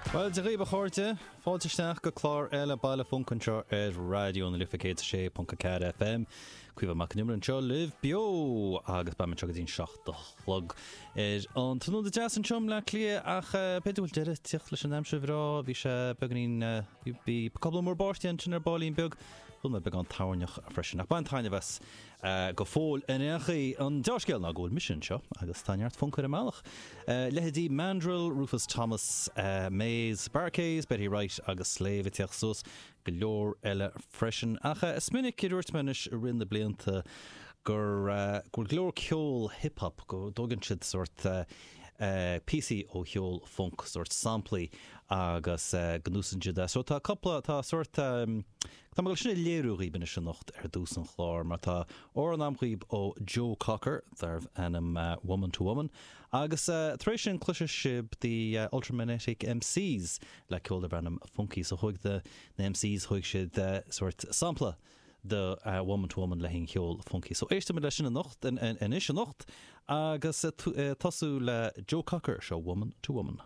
Bhuel, Dia dhaoibh a chairde, fáilte isteach go clár eile Baile Func anseo ar Raidió na Life 106.4 FM. Caoimhe Mac Con Iomaire anseo libh beo agus beidh mé anseo go dtí'n 7 a chlog ar an tráthnóna deas anseo i mBleá Cliath ach b'fhéidir go bhfuil deireadh ag tíocht leis an aimsir bhreá, bhí sé beagáinín, bhí cúpla múr báistí ansin ar baillín beag, chuala mé beagán toirneach freisin ach bain taitneamh as. Go fóill in aon chaoi, an dea-scéal ná go bhfuil mise anseo agus tá neart func ar an mbealach. Leithéidí Mandrill, Rufus Thomas, Maze, Bar-Kays, Betty Wright agus Slave ag teacht suas, go leor eile freisin. Ach is minic a dúirt mé anois i rith na blianta gur go bhfuil go leor ceol hip hop, go dtógann siad sórt píosaí ó cheol func, sórt samplaí agus go n-úsáideann siad é. So tá cúpla, tá sórt. Tá mé ag dul sin a léiriú dhaoibh anois anocht ar dtús an chláir mar tá amhrán a'm dhaoibh ó Joe Cocker darbh ainm Woman to Woman agus tar éis sin cloisfidh sibh The Ultramagnetic MCs le ceol darb ainm Funky. So thóg na MCs, thóg siad sórt sampla de Woman to Woman le haghaidh an cheol Funky. So éistfimid leis sin anocht, anois anocht agus tosú le Joe Cocker, seo Woman to Woman.